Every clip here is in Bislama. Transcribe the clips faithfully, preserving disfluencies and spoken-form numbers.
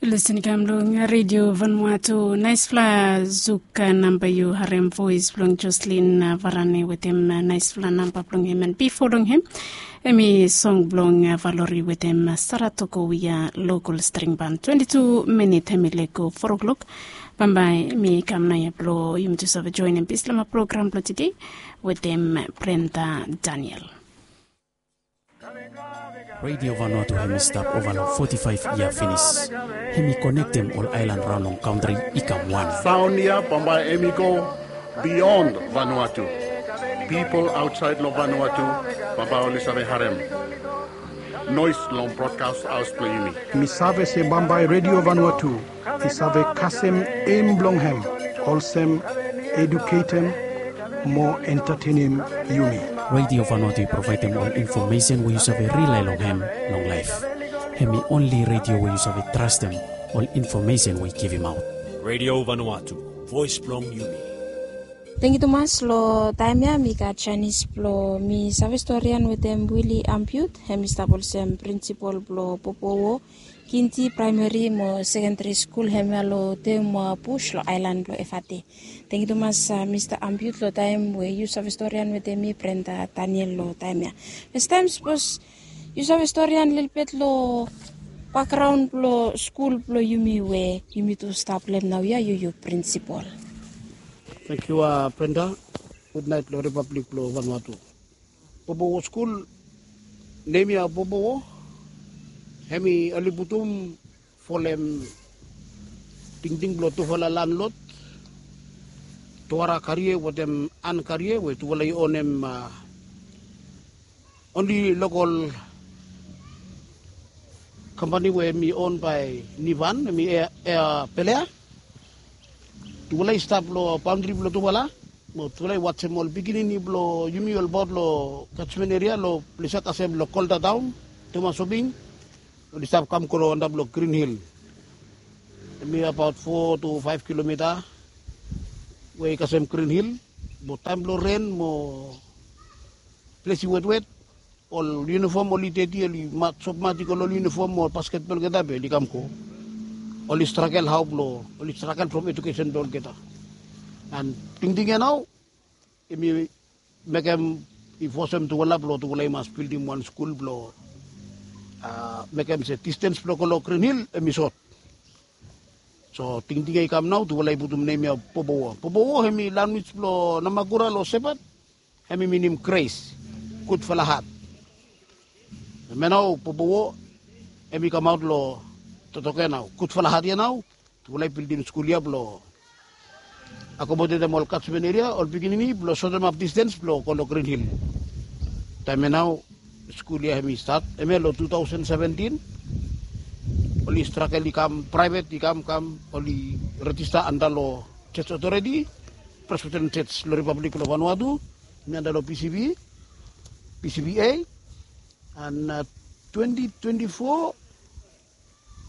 Listen kam long redio Vanuatu, naispela zuk namba yu harem voes blong Jocelyn Varane wetem naispela namba blong hem, and bifo long hem em i song blong Valori wetem Saratoko, wia lokal string ban. Twenty-two minit em i lego four o'clock. Bambae mi kam naia blong yumi tu save joinim bislama program blong tide wetem Brenda Daniel. Radio Vanuatu hem i stap ova long forty-five yia finis. Hem i konektem ol aelan raon long kantri i kam wan. Saon ya bambae em i go bion Vanuatu. Pipol aotsaed long Vanuatu bambae oli save harem noes long brodkas haos blong yumi. Mi save se bambae Radio Vanuatu i save kasem em blong hem olsem eduketem mo entatenem yumi. Radio Vanuatu i provaedem ol infomesen we yu save rilae long hem long laef. Hem i onli redio we yu save trastem ol infomesen we i givimaot. Radio Vanuatu, voes blong yumi. Tengiu tumas. Long taem ya mi gat janis blong mi save storian wetem Willy Ampiut, hem i stap olsem prinsipol blong Popowo Kindi Praemeri mo Sekendari Skul hemia long Teumua Bus long aelan blong Efate. Tengiu tumas, Mista Ampiut, long taem we yu save storian wetem mi, Brenda Daniel, long taem ya. Fastaem sapos yu save storian lelebet long bakgraon blong skul blong yumi we yumi tu stap long hem naoia, yu yu prinsipol. Tengiu Brenda. Gudnaet long Ripablik blong Vanuatu. Popowo skul, nem ya Popowo, hem i oli putum folem tingting blong tufala landlod, Tuara Karie wetem An Karie, we tufala i onem onli lokol kampani we hem i on bae Nivan, hem i Ea Pelea. Tufala i stap long baondri blong tufala. Mo tufala i wajem ol pikinini blong yumi olbaot long kajmen eria long ples ya kasem long Kolda Taon, Teumua Soping. Oli stap kam go long antap long Grin Hil. Hem i abaot fo tu faef kilomita we i kasem Grin Hil. Mo taem blong ren mo ples i wetwet, ol yunifom oli deti, oli sopmat i go long ol yunifom mo ol basketbol olgeta be oli kam go. Oli stragel hao blong, oli stragel from edukesen blong olgeta. And tingting ya nao hem i mekem, i fosem tufala blong tufala i mas bildim wan skul blong mekem se distens blong go long Grin Hil hem i sot. So tingting ya i kam nao, tufala i putum nem ya Popowo. Popowo hem i lanwis blong Namakura long Sepat, hem i minim gres, gudfala hat. Hemia nao Popowo hem i kamaot long totok ya nao, gudfala hat ya nao. Tufala i bildim skul ya blong akomodetem ol kajmen eria, ol pikinini blong sotemap distens blong go long Grin Hil. Taem ya nao skul ya hem i stat, hemia long tu taosen seventin. Oli stragel i kam praevet, i kam kam, oli rejista anta long Jos Otoreti, Presbiteren Jos long Ripablik blong Vanuatu. Mi anta long P C B, P C B A. And twenti twenti fo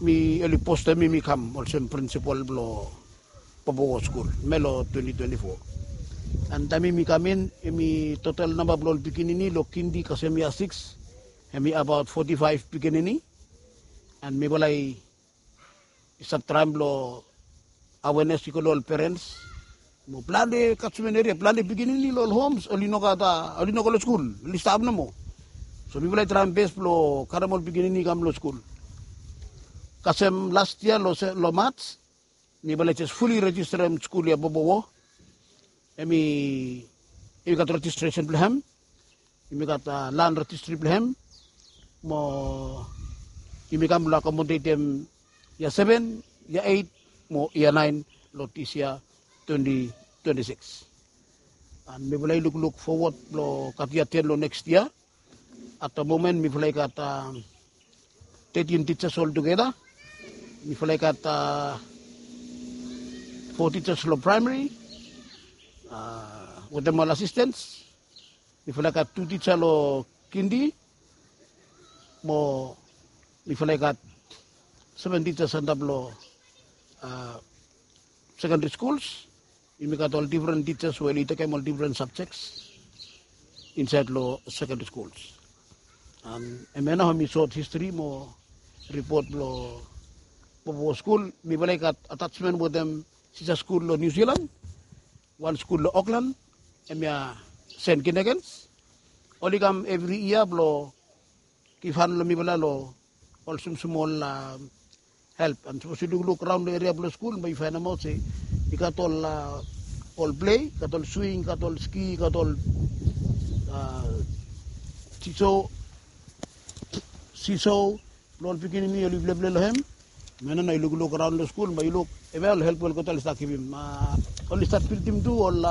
mi oli postem mi, mi kam olsem prinsipol blong Popowo skul, hemia long twenti twenti fo. And taem mi kam in, hem i total namba blong ol pikinini long Kindi kasem yia sikis, hem i abaot foti faef pikinini. And mifala i stap traem blong awenes i go long ol perens. Mo plante kajmen eria, plante pikinini long ol homs oli no gat, oli no go long skul, oli stap nomo. So mifala i traem bes blong karem ol pikinini i kam long skul. Kasem las yia long Maj, mifala i jes fuli rejistarem skul ya Popowo. Hem i, hem i gat rejistresen blong hem. Yumi gat lan rejistri blong hem. Mo yumi kam blong akomodetem yia seven, yia eight mo yia nine long dis yia twenti twenti sikis. And mifala i lukluk fowod blong gat yia ten long neks yia. At the moment mifala i gat tetin tijas oltugeta. Mifala i gat fo tijas long praemari wetem ol asistens. Mifala i gat tu tija long Kindi mo mifala i gat seven tijas antap long sekendari skuls. Yumi gat ol difren tijas we oli tekem ol difren sabjek insaed long sekendari skuls. Hemia nao hem i sot histri mo ripot blong Popo skul, mifala i gat atasmen wetem sisa skul long Niu Silan, wan skul long Oklan, hemia Sen Kinekens. Oli kam evri yia blong givhan long mifala long ol smosmol help. And sapos yu lukluk raon long eria blong skul, bae yu faenemaot se i gat ol, ol plei, i gat ol swing, i gat ol ski, i gat ol siso, siso, blong ol pikinini oli pleplei long hem. Hemia nao yu lukluk raon long skul, bae yu luk hemia ol help we olgeta oli stap givim. Oli stap bildim tu ol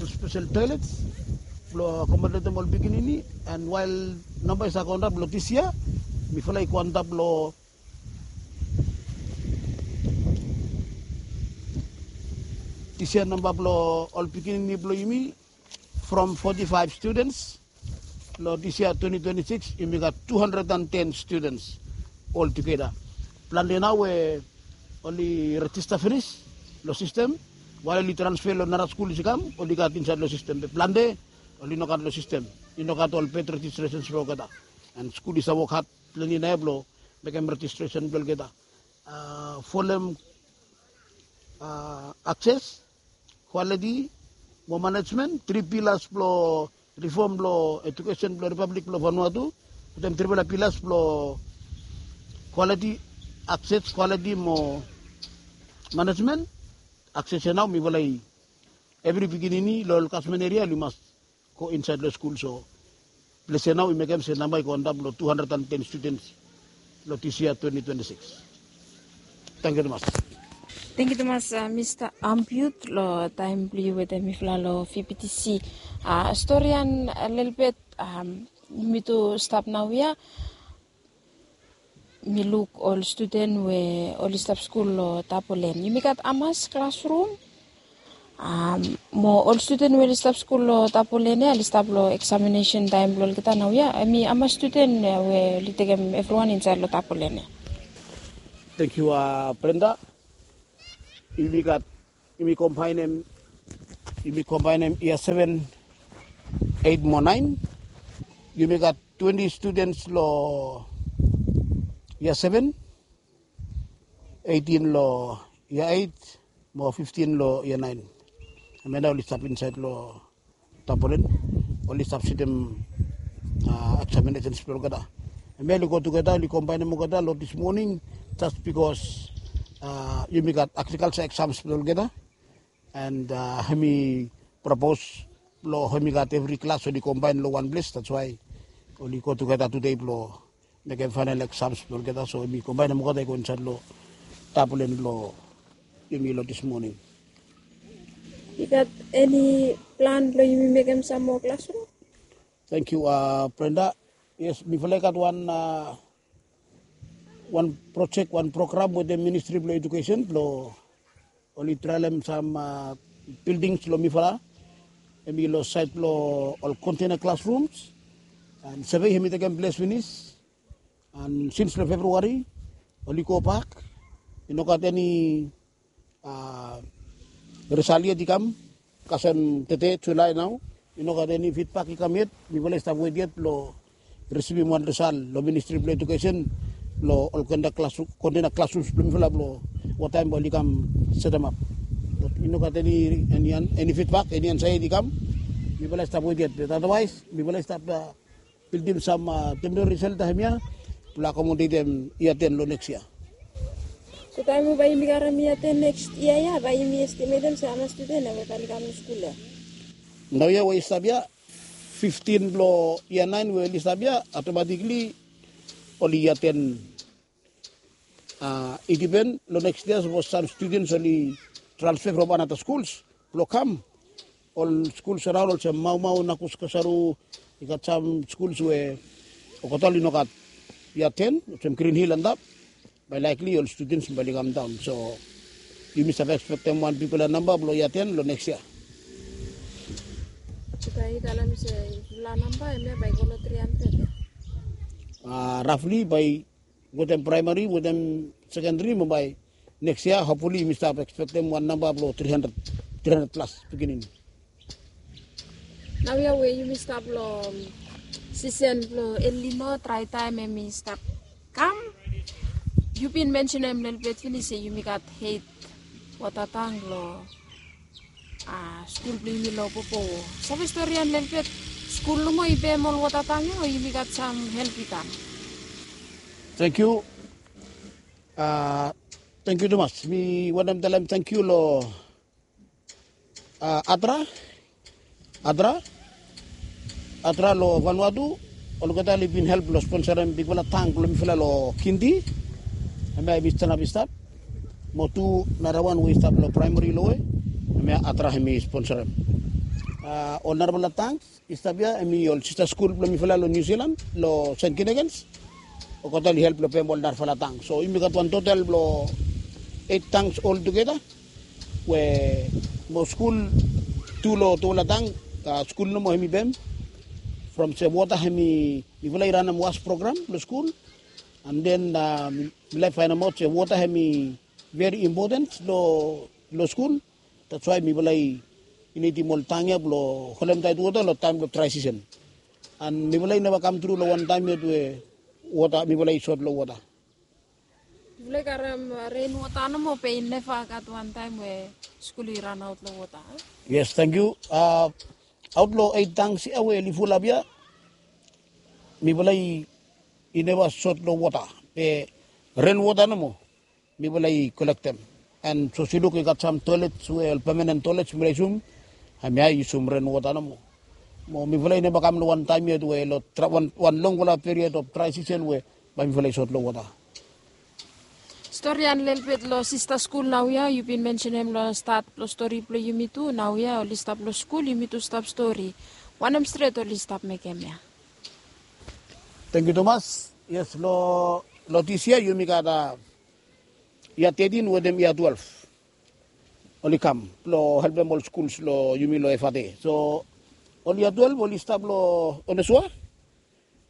spesel toilets blong akomodetem ol pikinini. And wael namba i stap go antap long dis yia, mifala i go antap long dis yia namba blong ol pikinini blong yumi, from forty-five students, long dis yia twenty twenty-six yumi gat two hundred and ten students oltugeta. Plante nao we oli rejista finis long sistem, wael oli transfe long nara skul i kam, oli gat insaed long sistem. Be plante oli nogat long sistem, i nogat ol bad registrations blong olgeta. And skul i save wok had plante nao blong mekem rejistresen blong olgeta. Folem akses, kwaliti mo manejmen, tri pilas blong rifom blong ejukesen blong Ripablik blong Vanuatu. Wetem trifala pilas blong kwaliti, akses, kwaliti mo manejmen. Akses ya nao mifala i, evri pikinini long ol kasmen eria oli mas go insaed long skul. So ples ya nao i mekem se namba i go antap long two hundred and ten students long dis yia twenty twenty-six. Tangkiu tumas. Tangkiu tumas, Mista Ampiut, long taem blong yu wetem mifala long V B T C. Storian lelebet, yumi tu stap naoia. Mi luk ol studen we oli stap skul long Tapolen. Yumi gat hamas klasrum? Mo ol studen we oli stap skul long Tapolen ya, oli stap long eksaminesen taem blong olgeta naoia? Hemi hamas studen we oli tekem evriwan insaed long Tapolen ya? Tangkiu, Brenda. Yumi gat, yumi kombaenem, yumi kombaenem yia seven, eit mo naen. Yumi gat twenti studens long yia seven, eitin long yia eit, mo fiftin long yia naen. Hemia nao oli stap insaed long Tapolen, oli stap sitem eksaminesen blong olgeta. Hemia oli go tugeta, oli kombaenem olgeta long dis moning, jes bikos yumi gat agrikalja eksams blong olgeta. And hemi propos blong hemi gat evri klas oli kombaen long wan ples, that's why oli go tugeta tude blong mekem faenal eksams blong olgeta. So yumi kombaenem olgeta i go insaed long Tapolen blong yumi long dis moning. I gat eni plan blong yumi mekem sam moa klasrum? Tangkiu, Brenda. Yes, mifala i gat wan, wan projek, wan program wetem Ministri blong Ejukesen blong oli traelem sam bildings long mifala. Hemi long saed blong ol container classrooms. And survey hemi tekem ples finis. And sins long Februari oli gobak. I no gat eni resal yet i kam. Kasem tede, Julae nao, i no gat eni fidbak i kam yet. Mifala i stap wet yet blong risivim wan resal long Ministri blong Ejukesen long ol kontena klasrums blong mifala blong wataem bae oli kam setemap. Bat i no gat eni, eni fidbak, eni ansa yet i kam. Mifala i stap wet yet. Bat adawaes mifala i stap bildim sam temporeri shelter hemia blong akomodetem yia ten long neks yia. So taem we bae yumi karem yia ten neks yia ya, bae yumi estimetem se hamas studen ya we bae oli kam long skul ya? Naoia we i stap ya, fiftin blong yia naen we oli stap ya, automatikli oli yia ten. I dipen long neks yia, sapos sam studens oli transfe from anata skuls blong kam, ol skuls araon olsem Maumau, Nakus, Kasaru, i gat sam skuls we olgeta oli no gat yia ten, olsem Green Hill antap, bae laekli ol studens bae oli kamdaon. So yumi save ekspektem wan bigfala namba blong yia ten long neks yia. So bae yu talem se bigfala namba hemia bae i go long tri handred ya? Rafli bae wetem praemari, wetem sekendari, mo bae neks yia hopfuli yumi stap ekspektem wan namba blong tri handred, tri handred plas pikinini. Naoia we yumi stap long sisen blong El Nino, drae taem hemi stap kam. Yu bin mensenem lelebet finis se yumi gat eit wota tang long skul blong yumi long Popowo. Save storian lelebet skul nomo i pem ol wota tang ya o yumi gat sam help i kam? Tangkiu. Tangkiu tumas. Mi wantem talem tangkiu long Atra, Atra, Atra long Vanuatu. Olgeta oli bin help long sponsorem bigfala tang blong mifala long Kindi. Hemia hemi stanap i stap. Mo tu narawan we i stap long praemari lowe. Hemia Atra hemi sponsorem. Ol narafala tang i stap ya hemi ol sista skul blong mifala long Niu Silan long Sent Kinekens. Olgeta oli help long pem ol narafala tang. So yumi gat wan total blong eit tangs oltugeta. We mo skul tu long tufala tang, skul nomo hemi pem. From se wota hemi mifala i ranem was program long skul. And then mi laik faenemaot se wota hemi very important long skul. That's why mifala i nidim ol tang ya blong holemtaet wota long taem blong dry season. And mifala i neva kam tru long wan taem yet we wota mifala i sot long wota. Mifala i karem ren wota nomo be i neva gat wan taem we skul i ranaot long wota. Yes, tangkiu. Aot long eit tangs ya we oli fulap ya, mifala i neva sot long wota be ren wota nomo mifala i kolektem. And sapos yu luk i gat sam toilets we ol pemanen toilets mifala i yusum, hemia i yusum ren wota nomo. Mo mifala i neva kam long wan taem yet we long wan longfala period of dry season we bae mifala i sot long wota. Storian lelebet long sista skul naoia, yu bin mensenem long stat blong stori blong yumi tu, naoia oli stap long skul, yumi tu stap stori. Wanem stret oli stap mekem ya? Tangkiu tumas. Yes, long dis yia yumi gat yia tetin wetem yia twelef oli kam blong helpem ol skuls long yumi long F R D. So ol yia twelef oli stap long Onesua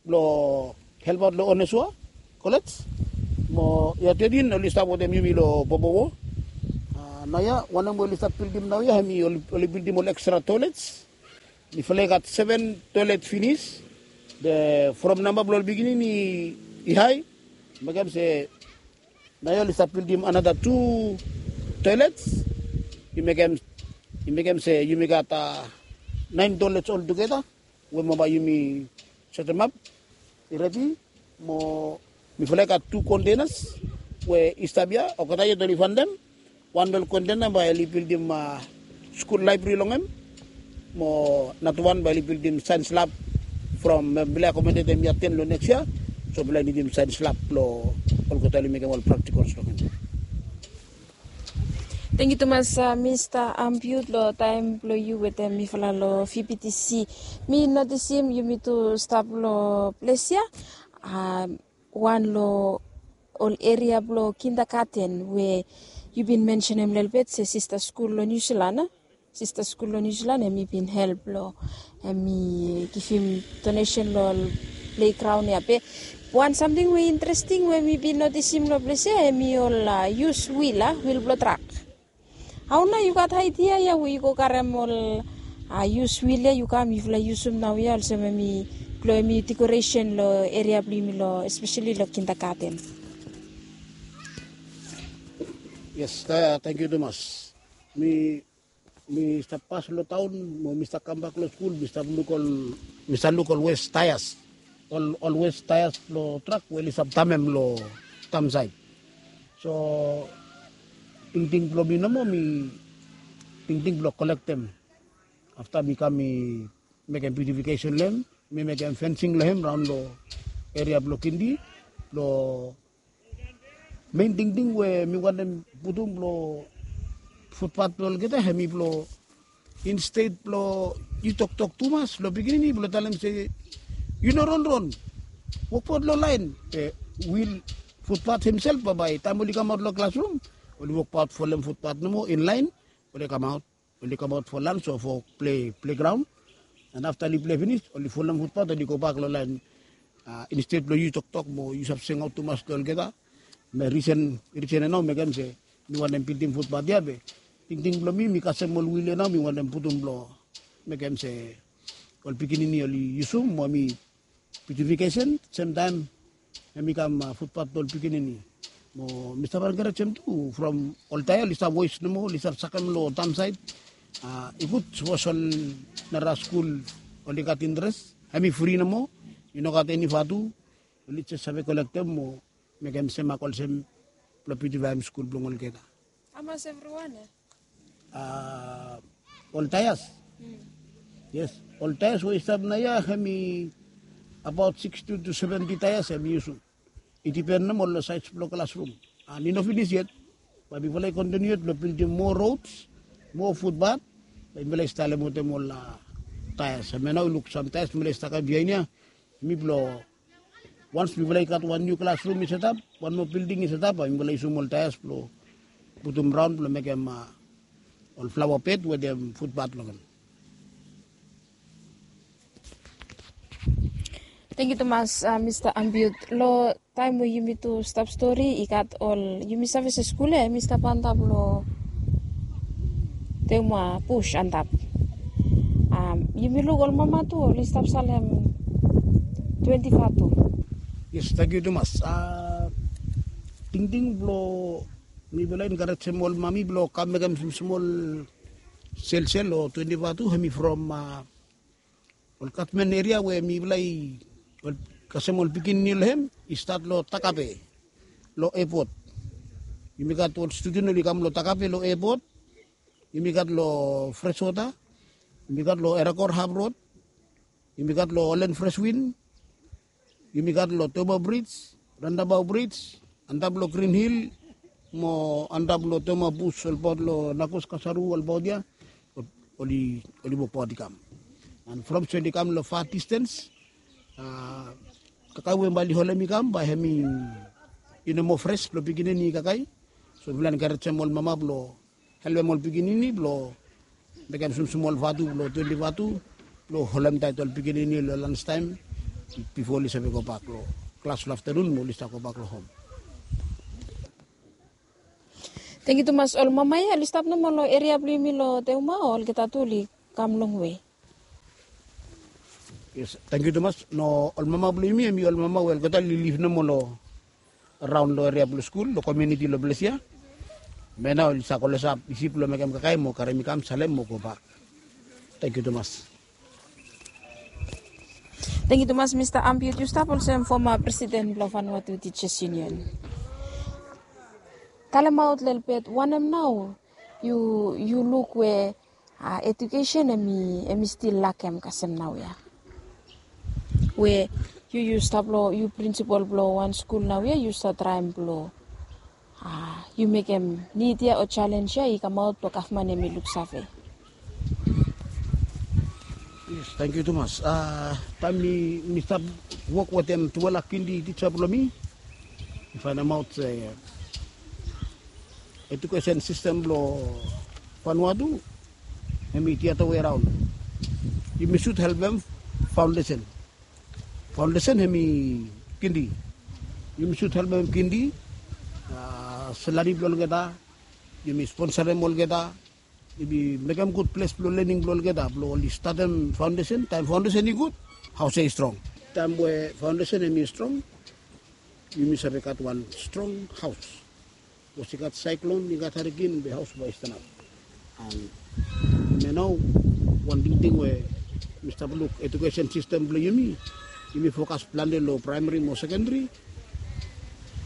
blong helpaot long Onesua Kolej. Mo yia tetin oli stap wetem yumi long Popowo. Naoia wanem we oli stap bildim naoia hemi oli bildim ol ekstra toilets. Mifala i gat seven toilet finis. Be from namba blong ol pikinini i hae, mekem se naoia oli stap bildim another two toilets. I mekem se yumi gat nine toilets oltugeta we mo bae yumi setemap i redi. Mo mifala i gat tu containers we i stap ya, olgeta yet oli faenem. Wan blong ol container bae oli bildim skul laebrari long hem. Mo nara wan bae oli bildim saens lab. From mifala i akomodetem yia ten long neks yia, so mifala i nidim saens lab blong olgeta oli mekem ol praktikals long hem. Tangkiu tumas Mista Ampiut long taem blong yu wetem mifala long V B T C. Mi notisim yumi tu stap long ples ya, wan long ol eria blong kindagaten we yu bin mensenem lelebet se sista skul long Niu Silan a? Sista skul long Niu Silan hemi bin help long hemi givim donesen long ol plegraon ya. Be wan samting we interesting we mi bin notisim long ples ya hemi ol yus wil a, wil blong trak. Hao nao yu gat aedia ya we yu go karem ol yus wil ya yu kam yufala yusum naoia olsem hemi blong hemi dekoresen long eria blong yumi long espeseli long kindagaten? Yes, tangkiu tumas. Mi mi stap pas long taon mo mi stap kambak long skul, mi stap luk ol mi stap luk ol wes taeas, ol wes taeas blong trak we oli stap tamem long damsaet. So tingting blong mi nomo mi tingting blong kolektem. Afta mi kam mi mekem biutifikeson long hem, mi mekem fensing long hem raon long eria blong Kindi. Long mein tingting we mi wantem putum long futpat blong olgeta hemi blong insted blong yu toktok tumas long pikinini blong talem se yu no ronron, wokbaot long laen. Be wil futpat hemsel bambae taem oli kamaot long klasrum oli wokbaot folem futpat nomo in laen. Oli kamaot oli kamaot fo lans o fo plegraon. And afta oli ple finis oli folem futbat oli gobak long laen. Insted blong yu toktok mo yu save singaot tumas long olgeta. Me risen ya nao mekem se mi wantem bildim futbat ya be tingting blong mi mi kasem ol wil ya nao mi wantem putum blong mekem se ol pikinini oli yusum mo mi biutifikeson semtaem hemi kam futbat blong ol pikinini. Mo mi stap enkarejem tu from ol taea oli stap wes nomo, oli stap sakem long taon saed. I gud sapos ol nara skul oli gat interes, hemi fri nomo. I no gat eni vatu. Oli jes save kolektem mo mekem semak olsem blong biutifaem skul blong olgeta. Hamas evriwan ya? Ol taeas. Yes, ol taeas we i stap naoia hemi abaot siksti tu seventi taeas hemi yusum. I dipen nomo long saes blong klasrum. An i no finis yet. Bae mifala i kontiniu yet blong bildim moa rods, moa futbat. Bae mifala i stalem wetem ol taeas. Hemia nao i luk sam taeas mifala i stakem biaen ya. Hemi blong wans mifala i gat wan niu klasrum i setap, wan moa bilding i setap, bae mifala i yusum ol taeas blong putum raon blong mekem ol flaoa bed wetem futbat long hem. Tangkiu tumas, Mista Ambiut. Long taem we yumi tu stap stori i gat ol, yumi save se skul ya hemi stap antap long teuma bus antap. Yumi luk ol mama tu oli stap salem twenti vatu. Yes, tangkiu tumas. Tingting blong mifala i enkarejem ol mami blong kam mekem smosmol selsel long twenti vatu hemi from ol gavman eria we mifala i kasem ol pikinini long hem i stat long Takape long epot. Yumi gat ol studen oli kam long Takape long epot. Yumi gat long Freshwater. Yumi gat long Erakor Hap Rod. Yumi gat long Olen Freshwin. Yumi gat long Toma Brij, Randabao Brij, antap long Grin Hil mo antap long Toma Bus olbaot long Nakus Kasaru olbaot ya. Oli, oli wokbaot i kam. An from so oli kam long fa distens. Kakae we bae oli holem i kam bae hemi i no moa fres blong pikinini i kakae. So mifala enkarejem ol mama blong helpem ol pikinini blong mekem smosmol vatu blong twenti vatu blong holem taet ol pikinini long lanstaem bifo oli save gobak long klas long aftanun mo oli stap gobak long hom. Tangkiu tumas. Ol mama ya oli stap nomo long eria blong yumi long Teuma o olgeta tu oli kam longwe? Yes, tangkiu tumas. No, ol mama blong yumi hemi ol mama we olgeta oli liv nomo long raon long eria blong skul long komuniti long ples ya. Hemia nao oli save klosap isi blong mekem kakae mo karem i kam salem mo gobak. Tangkiu tumas. Tangkiu tumas Mista Ambiut. Yu stap olsem foma presiden blong Vanuatu Teachers Union. Talemaot lelebet wanem nao yu, yu luk we edukesen hemi, hemi stil lakem kasem naoia? We yu, yu stap long, yu prinsipol blong wan skul naoia, yu stap traem blong yu mekem nid ya o jalenj ya i kamaot blong gavman hemi luksave. Yes, tangkiu tumas. Taem mi, mi stap wok wetem tufala kindi tija blong mi, mi faenemaot se edukesen sistem blong Vanuatu hemi the other way around. Yumi sud helpem faondesen. Faondesen hemi kindi. Yumi sud helpem kindi. Selari blong olgeta, yumi sponsorem olgeta. Yumi mekem gud ples blong lening blong olgeta blong oli statem faondesen. Taem faondesen i gud, haos ya i strong. Taem we faondesen hemi strong, yumi save gat wan strong haos. Sapos i gat saeklon, i gat hariken, be haos bae i stanap. An hemia nao wan tingting we mi stap luk edukesen sistem blong yumi. Yumi fokas plante long praemari mo sekendari.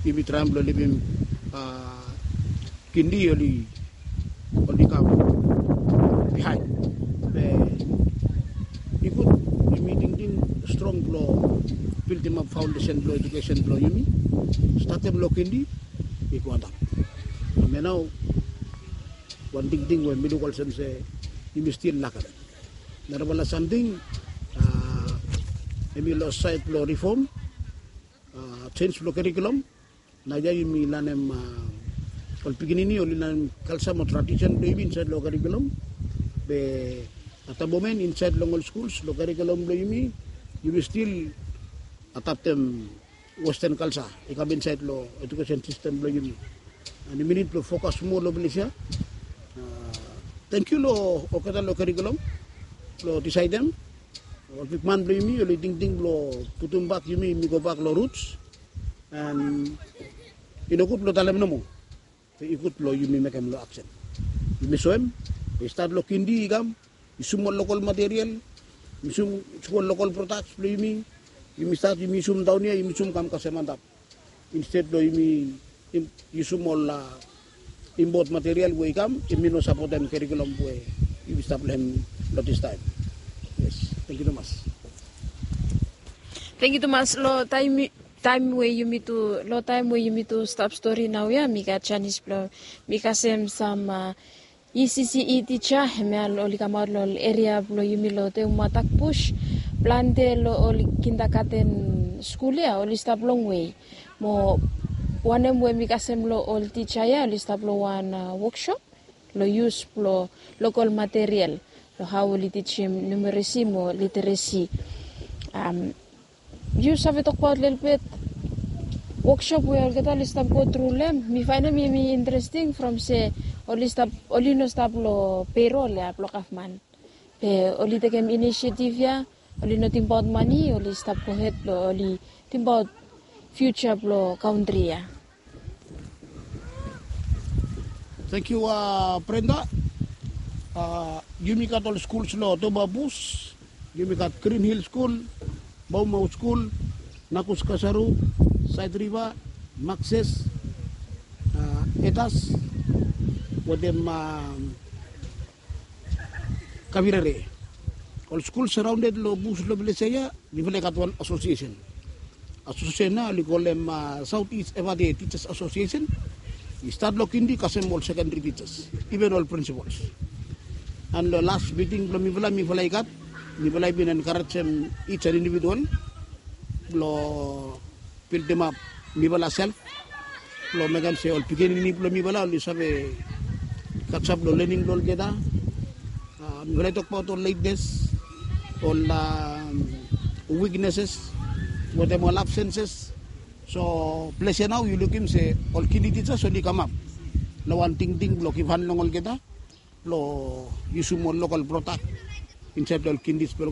Yumi traem blong libim kindi oli, oli kam bihaen. Be i gud yumi tingting strong blong bildimap faondesen blong edukesen blong yumi. Statem long kindi i go antap. Hemia nao wan tingting we mi luk olsem se yumi stil lakem. Narafala samting hemi long saed blong rifom, jenj blong karikulum. Naoia yumi lanem, ol pikinini oli lanem kalja mo tradisen blong yumi insaed long karikulum. Be at the moment insaed long ol skuls long karikulum blong yumi, yumi stil adaptem westen kalja i kam insaed long edukesen sistem blong yumi. An yumi nid blong fokas moa long ples ya. Tangkiu long olgeta long karikulum blong disaedem. Ol bigman blong yumi oli tingting blong putumbak yumi, yumi gobak long ruts. An I no gud blong talem nomo. Be i gud blong yumi mekem long aksen. Yumi soem, i stat long kindi i kam, yusum ol lokal material, yusum ol lokal prodaks blong yumi. Yumi stat, yumi yusum daon ya, yumi yusum kam kasem antap. Insted blong yumi yusum ol impot material we i kam, yumi no sapotem kerikulum we yumi stap long hem long distaem. Yes, tangkiu tumas. Tangkiu tumas. Long taem we yumi tu long taem we yumi tu stap stori naoia, mi gat janis blong mi kasem sam ECCE tija, hemia oli kamaot long eria blong yumi long Teuma Takbush. Plante long ol kindagaten skul ya oli stap longwe. Mo wanem we mi kasem long ol tija ya, oli stap long wan wokshop long yus blong lokal material, long hao oli tijim numeresi mo literesi. Yu save tokbaot lelebet wokshop we olgeta oli stap go tru long hem? Mi faenem hem i interesting from se oli stap, oli no stap long perol ya blong gavman. Be oli tekem inisiativ ya, oli no tingbaot mane, oli stap gohed blong oli tingbaot fiuja blong kantri ya. Tangkiu, Brenda. Yumi gat ol skuls long Teuma Bush. Yumi gat Green Hill Skul, Maumau Skul, Nakus Kasaru, Side River, Maxes, Etas wetem Kavirere. Ol skul saraonded long bus long ples ya, mifala i gat wan asosiesen. Asosiesen ya oli kolem South East Efate Teachers Association. I stat long kindi kasem ol sekendri tijas, iven ol prinsipols. An long las miting blong mifala, mifala i gat, mifala i bin enkarejem ij an individual blong bildimap mifala self blong mekem se ol pikinini blong mifala oli save kasap long lening blong olgeta. Mifala i tokbaot ol latenes, ol wikneses wetem ol absenses. So ples ya nao yu lukim se ol kindi tijas oli kamap long wan tingting blong givhan long olgeta blong yusum ol lokal prodak insaed long ol kindi skul.